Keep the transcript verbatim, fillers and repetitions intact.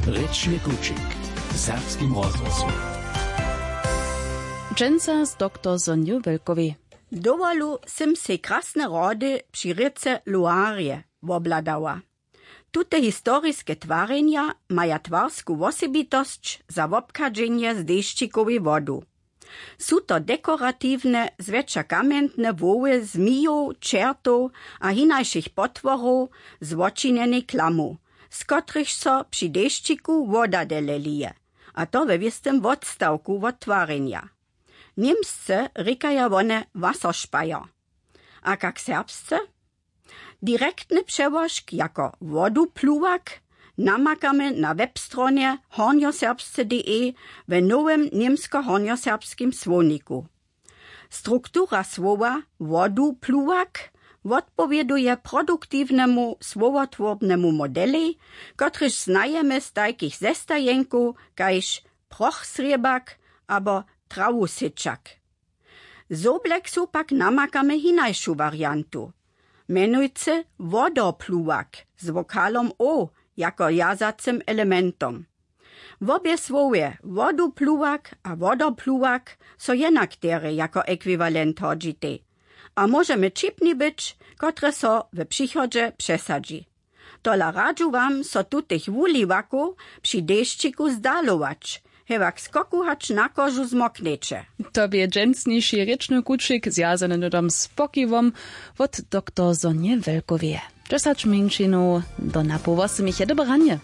Rěčny kućik w serbskim rozhłosu. Dźensa z doktor Sonju Welkowej. Dowolu sym sej krasne rody při rěce Luarje wobhladała. Tute historiske twarjenja maja twarsku wosebitosć za wobchadźenje z dešćikowej wodu. Su to dekoratiwne zwjetša kamjentne hłowy zmijow, čertow a hinašich potworow z wočinjenej klamu, z kotrychž so při dešćiku woda dele lije, a to we wěstym wotstawku wot twarjenja. Němsce rěkaja wone Wasserspeier. A kak serbsce? Direktny přełožk jako wodupluwak namakamy na webstronje hornjoserbsce.de w nowym němsko-hornjoserbskim słowniku. Struktura słowa wodupluwak wotpowěduje produktiwnemu słowotworbnemu modelej, kotryž znajemy z tajkich zestajenkow kaž prochsrěbak abo trawusyčak. Z Obleksu pak namakamy hinašu wariantu, mjenujcy wodopluwak z wokalom o jako wjazacym elementom. Wobě słowje wodupluwak a wodopluwak so jenak derje jako ekwiwalent hodźitej a móžemy ćipni być, kotre so w přichodźe přesadźi. Tola radźu wam, so tutych wuliwakow při dešćiku zdalować, hewak skoku hač na kožu zmoknjeće. To bě dźensniši rěčny kućik zwjazany hnydom z pokiwom wot doktor Sonje Welkoweje. Dźesać mjeńšinow do napoł wosmich je dobre ranje.